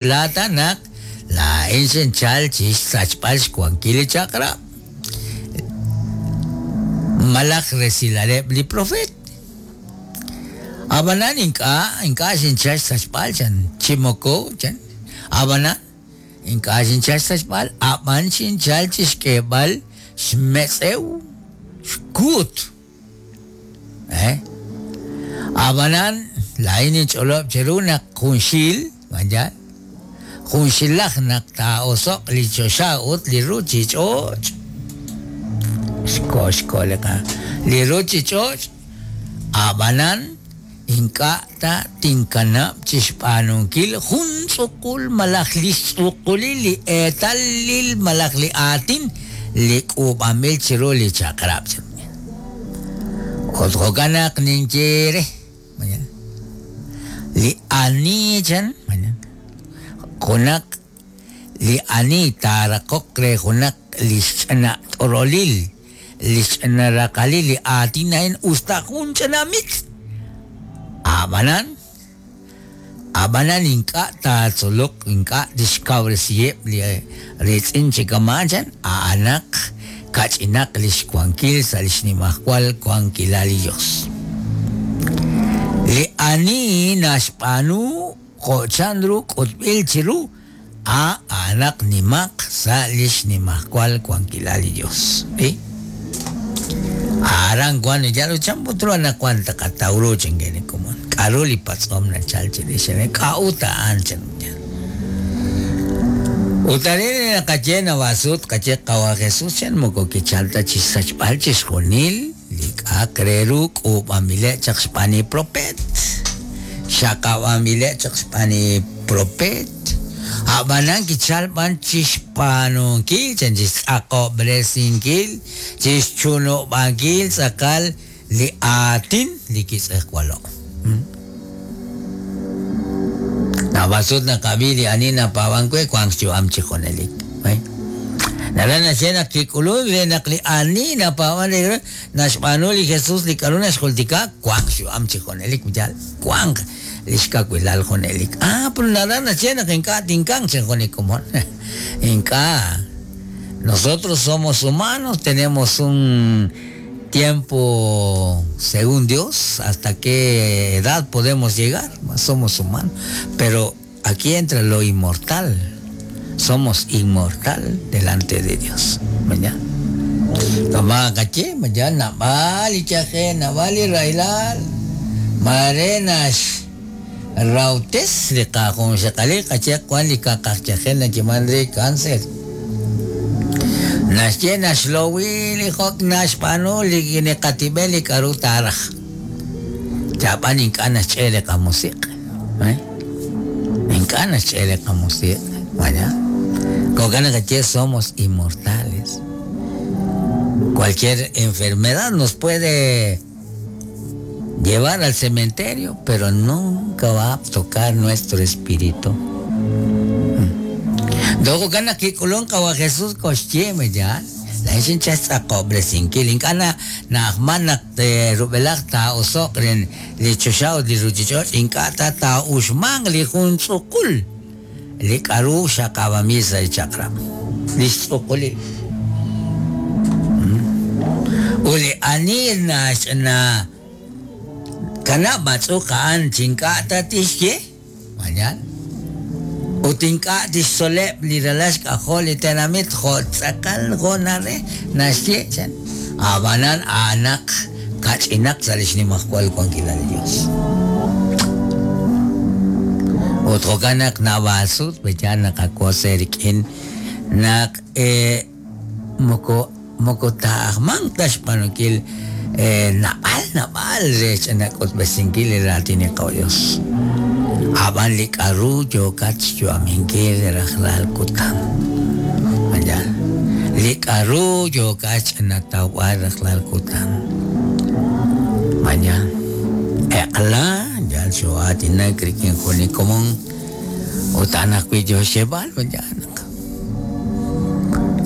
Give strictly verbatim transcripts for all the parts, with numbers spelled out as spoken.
Laata naq laa'in xinchal chi xsachb'al xwankil li chaq'rab' malaj resilaleb' li profeet. Ab'anan ink'a' ink'a' xinchal xsachb'al chan chi moko chan ab'anan ink'a' xinchal xsachb'al ab'an xinchal chi xk'eeb'al xmetz'ew xkuut. Eh? Ab'anan laa'in ninch'olob' cheru naq junxil vaya junxilaj naq taa'oso'q li choxa ut li ruuchich'och' xko xko li qa li ruuchich'och' ab'anan ink'a' ta tinkanab' chi xb'aanunkil jun tz'uqul malaj li xtz'uqulil li eetalil malaj li aatin li k'uub'anb'il chiru li chaq'rab'. Ut jo'kan naq ninye re li ani chan junaq li ani taaraqoq re junaq li xch'ina t'orolil li xch'ina raqalil li aatin a'in usta jun ch'ina mitz' ab'anan ab'anan ink'a' taatzoloq ink'a' tixkawresiheb' li riitz'in chi kama'an chan a'anaq kach'inaq li xwankil sa' li xnimajwal wankilal li Dios. Li ani naxb'aanu jo' chanru k'utb'il chiru a a'anaq nimaq sa' li xnimajwal wankilal li Dios. ¿Eh? Aran wan yal chan put ru anaqwan taqataw ru chankene komon. K'aru li patz'om nachal chirix k'a'ut a'an chan. Ut arin naqaye nawasut qaye qawa Jesús chan moko kichalta chi xsachb'al chixjunil li k'a'aq re ru k'uub'anb'ileb' chaq xb'aan li propeet. Xaqab'anb'ileb' chaq xb'aan li propeet. Ab'anan kichal b'an chi xb'aanunkil chan chi xtz'aqob'resinkil chi xchunub'ankil tz'aqal li aatin li kitz'ejwalo'. Nawasut naqab'i li ani napaab'ank we wank xyu'am chi junelik. Naraj naxye naq kik'ulunk re naq li ani napaab'an re naxb'aanu li Jesús li k'aru naxjultika wank xyu'am chi junelik yal wank li xkawilal junelik. Ah, pero naraj naxye naq ink'a' tinkank chan jun li komon. Ink'a'. Nosotros somos humanos, tenemos un tiempo según Dios, hasta qué edad podemos llegar, somos humanos. Pero aquí entra lo inmortal. Somos inmortal delante de Dios. ¿Verdad? Tama kache, mañana nabali chaje, nabali railal, marenas, rautes, li qajun xaqali, kache, kuan li kakajchaje, na chimandre cáncer. Naxye naxlowi li jok naxb'aanu li neqatib'el li k'aru taaraj. Chab'an ink'a' naxch'e li qamusiq'. ¿Eh? Ink'a' naxch'e li qamusiq'. Vaya. Jo'kan naq somos inmortales. Cualquier enfermedad nos puede llevar al cementerio, pero nunca va a tocar nuestro espíritu. Doko ka nakikulong kawa Jesús koxye ya. La xincha tz'aqob'resinkil ink'a' na na'ajman naq rub'elaj taa'oso'q ren li choxa ut li ruuchich'och' ink'a' ta taa'uxmanq li jun tz'uqul li k'aru xaqab'amil sa' li chaq'rab' li xtz'uqulil. Ut li ani naxna kanab' matz'uq a'an chink'a' ta tixye mañan ut ink'a' tixtzoleb' li ralal xk'ajol li tenamit jo' tz'aqal jo' nare naxye chan ab'anan a'anaq kach'inaq sa' li xnimajwal wankilal li Dios. Ut jo'kan naq nawasut peya naqakose rik'in naq eh, moko moko taajmanq ta xb'aanunkil eh, nab'al nab'al re xch'inak'utb'esinkil li raatin li Dios. Ab'an li k'aru yookat xyu'aminkil rajlal kutan. Vaya. Li k'aru yookat xch'inatawb'al rajlal kutan. Vaya. Eq'la yal xo'aatinak rik'in jun li komon ut a'an ajwi' yo xyeeb'al vaya naq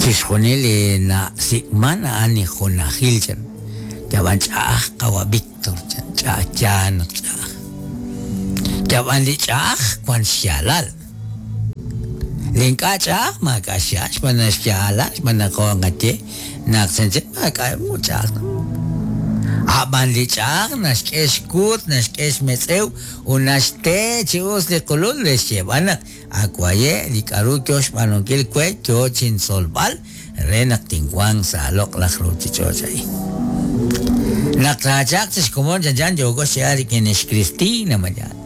chixjunil li nasik'man a'an li junajil chan yab'an ch'a'aj qawa Víctor chan ch'a'aj yaan naq ch'a'aj. Yab'an li ch'a'aj wan xyaalal. Li ink'a' ch'a'aj maak'a' xyaal xb'aan naq xyaalal xb'aan naq jo' nqaye naq chanchan maak'a' ch'a'aj. Ab'an li ch'a'aj naxk'e xkuut, naxk'e xmetz'ew ut naxte chi us li qulul re xyeeb'al naq akwaye' li k'aru yo xb'aanunkil we yo chintzolb'al re naq tinwanq sa' loq'laj ruuchich'och' a'in. Naq taachaq chi xkomon chanchan yooko xyeeb'al rik'in lix Cristina mañana.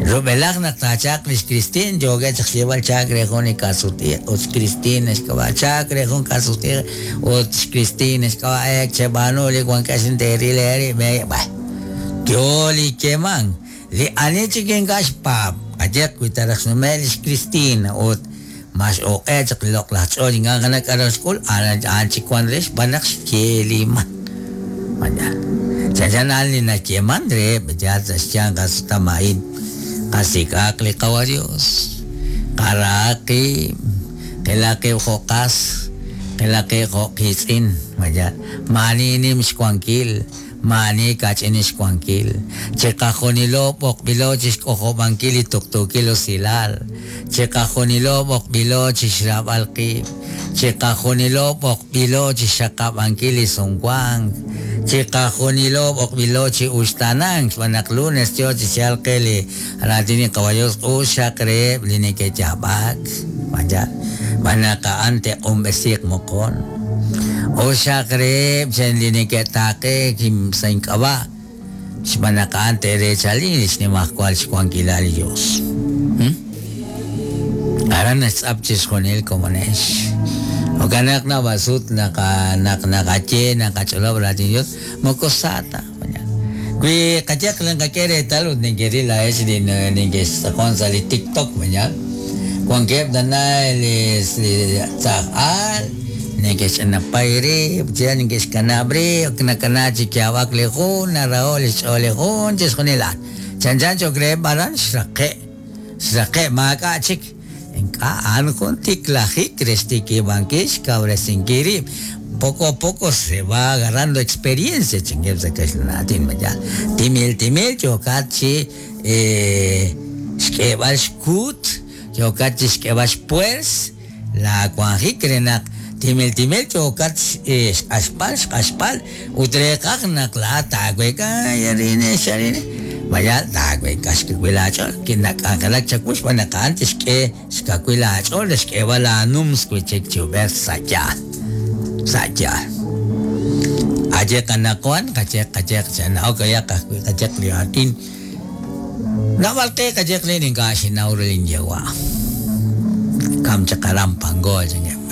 Rub'elaj naq taachaq lix Cristina yookeb' chaq xyeeb'al chaak re jun li kasuti' ut xCristina xk'ab'a' chaak re jun kasuti' ut xCristina xk'ab'a' ek cheb'aanu li wankex teeril eerib' b'ay. Yo li yeeman li ani chik ink'a' xpaab' ayeq wi ta raj xnume' lix Cristina ut max oq'e chaq li loq'laj ch'ool ink'a' naqana k'aru xk'ul a'an chik wan re xb'aan naq xyeeliman. Mañana. Chanchan a'an li nayeeman reheb' yaal sa' xyanq qasutam a'in. Qasik'aq li qawa Dios, qarahaq qib', qilaq qib' jo' qas, qilaq qib' jo' qiitz'in, mañana. Maani nim xwankil, maani kach'in xwankil. Chiqajunilo b'oqb'ilo chixk'ojob'ankil li tuqtuukil usilal. Chiqajunilo b'oqb'ilo chixraab'al qib'. Chiqajunilo b'oqb'ilo chixxaqab'ankil li sumwank. Chiqajunilo b'oqb'ilo chi uxtanank xb'aan naq lunes yo chi xyal qe li raatin li qawa Dios uxaq reheb' li neke'yaab'ak. Mañana. Xb'aan naq a'an te'q'unb'esiiq moqon. Uxaq reheb' chen li neke'taaqeek sa' ink'ab'a' xb'aan naq a'an te'reechali li xnimajwal xwankilal li Dios. Aran naxtz'ap chixjunil komonex. Jo'kan naq nab'asut naqa naq naqaye naqach'olob' raatin Dios moko sa ta. Wi qayeq li nqak'e reetal ut neke'ril laa'ex li neke'xtz'aqon sa' li TikTok mañana. Wankeb' tana li tz'aj'al neke'xch'anapay rib', chi neke'xkanab' rib', nakana chi yaab'ak li jun, naraho' li xch'ool li jun, chixjunil a'an. Chanchan cho'q reheb' aran xraqe', xraqe' maak'a' chik. Ink'a' a'an jun tiklajik re xtikib'ankil xkawresinkil rib'. Poco a poco se va agarrando experiencia, chingueb sa' kaxlan mañana. Timil timil yookat chi xk'eeb'al xkuut, yookat chi xk'eeb'al xpuers, la wanjik re naq timil timil yookat xq'axb'al xq'axb'al ut reeqaj naq laa'at taaweka yarine xarine. Vaya taaweka xkawil aach'ool kinak'anjelak chawu xb'aan naq a'an tixk'e xkawil aach'ool xk'eeb'al aanums wi' chik chi ub'ej sa' yaal. Sa' yaal. Ayeq anaqwan qayeq qayeq chana'ok ayaq ajwi' qayeq li aatin. Naab'al qe qayeq li ink'a' xinaw ru linyewa'. Kam chaq aran Pangol chingueb'.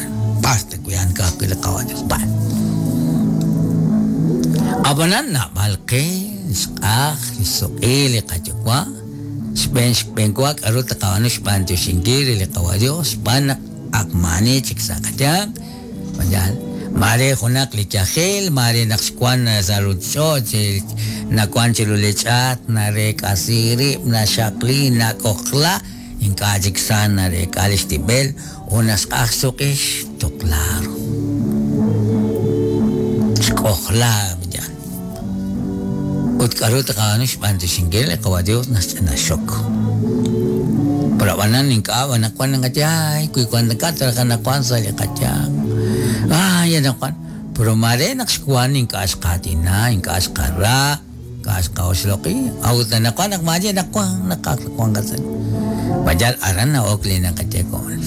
Basta kuyan ka'ajwi' li qawa Dios. B'an. Ab'anan naab'al qe xq'aj li suq'i li qayuwa' xb'een xb'eenwa k'aru taqab'aanu xb'aan tyoxinkil li qawa Dios xb'aan naq ak maani chik sa' qayanq. Mañana. Mare junaq li yajel, mare naq xwan sa' ruuchich'och' nawan chiru li ch'aat, nareek'asi rib', naxaqli, nak'ojla, ink'a' chik sa nareek'a li xtib'el ut naxq'aj xsuq'i xtuqlaaro. Xk'ojla mañana. Ut k'aru taqab'aanu xb'aan tyoxinkil li qawa Dios naxch'ina xok. Pero ab'anan ink'a' anaqwan naqaye ay wi wan ink'a' anaqwan sa' li qayanq. Ay anaqwan. Pero mare naq xwan ink'a' xqaatina, ink'a' xqara, ink'a' xqaoxloq'i. Awut anaqwan naq maye naqwan naqaqwan qasa. Mayal aran na'ok li naqaye koon.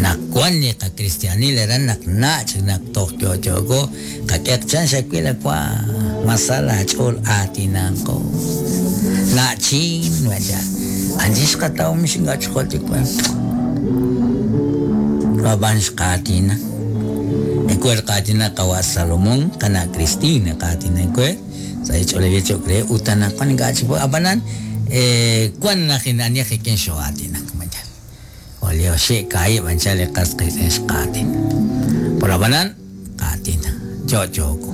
Naqwan li qakristianil aran naq nach' naq toj yo'yo'ko qak'eq chan xawil akwa masala ch'ool aatinanqo. Nachin waya. Anchi xqataw mixinga ch'ool tikwan. Ab'an xqaatina. Ekwer qaatina qawa Salomón qana Cristina qaatina ekwer sa' ch'oolej ch'ool utanaqwan ink'a' chik ab'anan eh wan naq inaniaj ikin xo'aatinak mañana. Olio xi kaib' anchal li qas qiitz'in xqaatin. Pero ab'anan qaatina cho'cho'ko.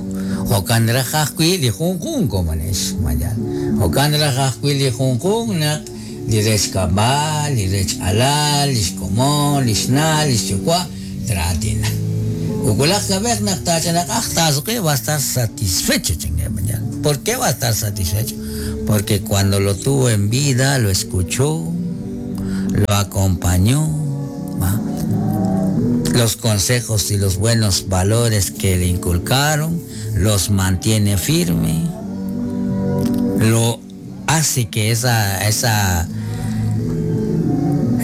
Jo'kan raj ajwi' li junjun komonex mañana. Jo'kan raj ajwi' li junjun naq li rech kab'al, li rech alal, li xkomon, li xna', li xyuwa' traatina. Ukulaj kab'ej naq taach'anaq'aj taasuqi va a estar satisfecho chingue mañana. ¿Por qué va a estar satisfecho? Porque cuando lo tuvo en vida lo escuchó, lo acompañó, ¿va? Los consejos y los buenos valores que le inculcaron, los mantiene firme, lo hace que esa, esa,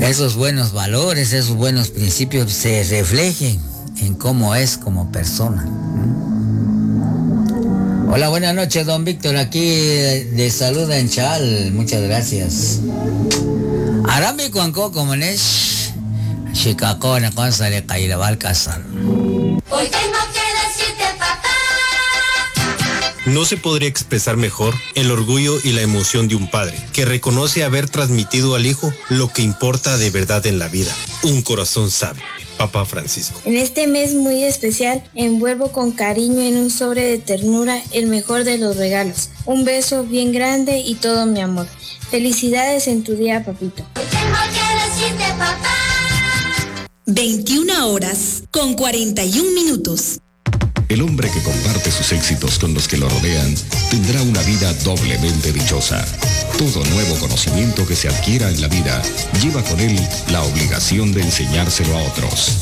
esos buenos valores, esos buenos principios se reflejen en cómo es como persona. Hola, buenas noches, don Víctor, aquí de saluda en Chal, muchas gracias. Arami cuanco como es, Chicago, Hoy tengo que decirte, papá. No se podría expresar mejor el orgullo y la emoción de un padre que reconoce haber transmitido al hijo lo que importa de verdad en la vida. Un corazón sabio. Papa Francisco. En este mes muy especial, envuelvo con cariño en un sobre de ternura el mejor de los regalos. Un beso bien grande y todo mi amor. Felicidades en tu día, papito. Hoy tengo que decirte, papá. veintiuna horas con cuarenta y un minutos. El hombre que comparte sus éxitos con los que lo rodean tendrá una vida doblemente dichosa. Todo nuevo conocimiento que se adquiera en la vida lleva con él la obligación de enseñárselo a otros.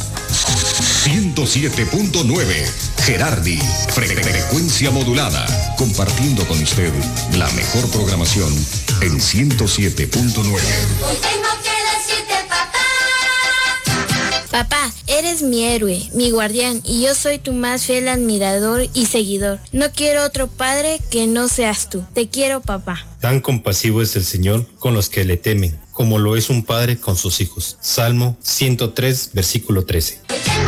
ciento siete punto nueve Gerardi, frecuencia modulada, compartiendo con usted la mejor programación en ciento siete punto nueve. Hoy tengo que decirte, papá. Papá, eres mi héroe, mi guardián, y yo soy tu más fiel admirador y seguidor. No quiero otro padre que no seas tú. Te quiero, papá. Tan compasivo es el Señor con los que le temen, como lo es un padre con sus hijos. Salmo ciento tres, versículo trece. Hoy tengo